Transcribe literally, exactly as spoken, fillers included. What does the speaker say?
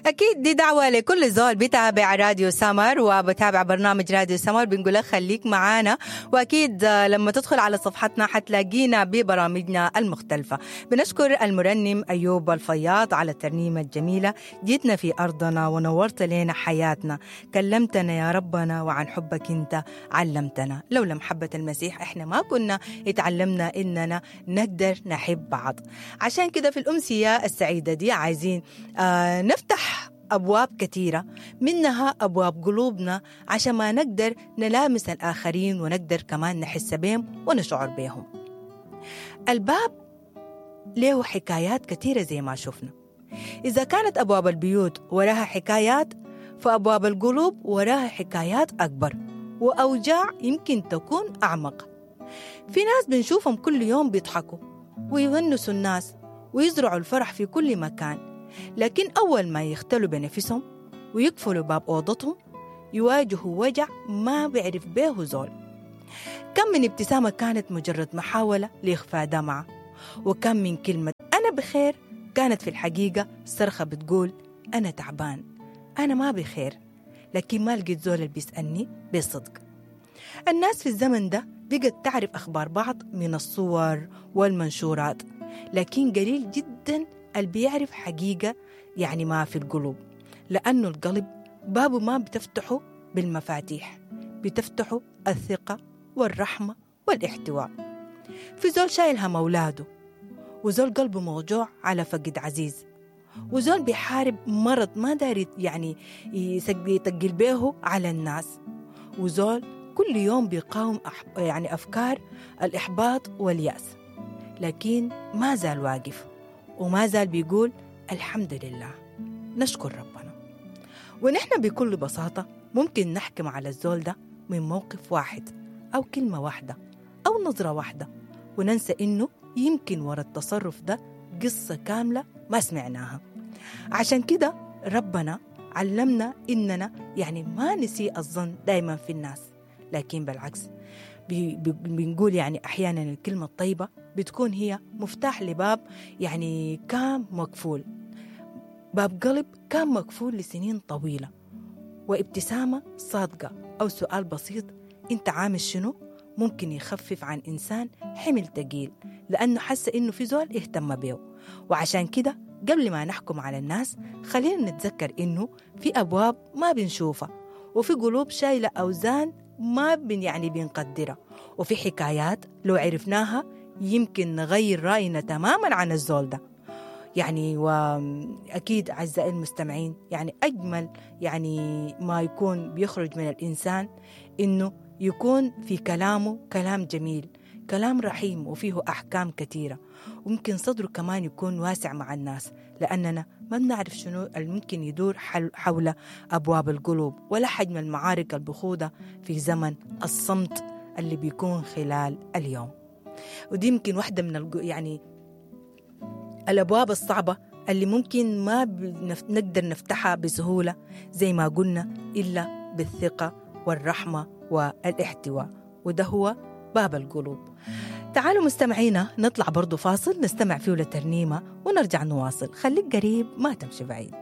أكيد دي دعوة لكل زول بيتابع راديو سمر وبتابع برنامج راديو سمر، بنقول لك خليك معانا، وأكيد لما تدخل على صفحتنا حتلاقينا ببرامجنا المختلفة. بنشكر المرنم أيوب الفياض على الترنيمة الجميلة، جيتنا في أرضنا ونورت لنا حياتنا، كلمتنا يا ربنا وعن حبك أنت علمتنا. لولا محبة المسيح إحنا ما كنا اتعلمنا إننا نقدر نحب بعض. عشان كده في الأمسية السعيدة دي عايزين آه نفتح أبواب كثيرة، منها أبواب قلوبنا، عشان ما نقدر نلامس الآخرين ونقدر كمان نحس بهم ونشعر بهم. الباب له حكايات كثيرة زي ما شفنا. إذا كانت أبواب البيوت وراها حكايات، فأبواب القلوب وراها حكايات أكبر وأوجاع يمكن تكون أعمق. في ناس بنشوفهم كل يوم بيضحكوا ويونسوا الناس ويزرعوا الفرح في كل مكان، لكن أول ما يختلوا بنفسهم ويقفلوا باب أوضتهم يواجهوا وجع ما بيعرف به زول. كم من ابتسامة كانت مجرد محاولة لإخفاء دمعة، وكم من كلمة أنا بخير كانت في الحقيقة صرخة بتقول أنا تعبان، أنا ما بخير، لكن ما لقيت زول اللي بيسألني بصدق. الناس في الزمن ده بقت تعرف أخبار بعض من الصور والمنشورات، لكن قليل جدا اللي بيعرف حقيقة يعني ما في القلوب، لأنه القلب بابه ما بتفتحه بالمفاتيح، بتفتحه الثقة والرحمة والاحتواء. في زول شايل هم أولاده، وزول قلبه موجوع على فقد عزيز، وزول بيحارب مرض ما داري يعني يتقل به على الناس، وزول كل يوم بيقاوم يعني أفكار الإحباط واليأس، لكن ما زال واقف وما زال بيقول الحمد لله، نشكر ربنا. ونحن بكل بساطة ممكن نحكم على الزول ده من موقف واحد أو كلمة واحدة أو نظرة واحدة، وننسى إنه يمكن وراء التصرف ده قصة كاملة ما سمعناها. عشان كده ربنا علمنا إننا يعني ما نسيء الظن دايما في الناس، لكن بالعكس بي بنقول يعني أحيانا الكلمة الطيبة بتكون هي مفتاح لباب يعني كان مقفول، باب قلب كان مقفول لسنين طويلة، وابتسامة صادقة أو سؤال بسيط أنت عامل شنو ممكن يخفف عن إنسان حمل تقيل لأنه حس إنه في زول اهتم بيه. وعشان كده قبل ما نحكم على الناس خلينا نتذكر إنه في أبواب ما بنشوفها، وفي قلوب شايلة أوزان ما بن يعني بنقدرها، وفي حكايات لو عرفناها يمكن نغير رأينا تماما عن الزول ده. يعني وأكيد أعزائي المستمعين يعني أجمل يعني ما يكون بيخرج من الإنسان إنه يكون في كلامه كلام جميل، كلام رحيم وفيه أحكام كثيرة، وممكن صدره كمان يكون واسع مع الناس، لأننا ما بنعرف شنو الممكن يدور حول أبواب القلوب ولا حجم المعارك البخوضة في زمن الصمت اللي بيكون خلال اليوم. ودي يمكن واحدة من يعني الأبواب الصعبة اللي ممكن ما نقدر نفتحها بسهولة زي ما قلنا إلا بالثقة والرحمة والاحتواء، وده هو باب القلوب. تعالوا مستمعينا نطلع برضو فاصل نستمع فيه لترنيمة ونرجع نواصل. خليك قريب ما تمشي بعيد.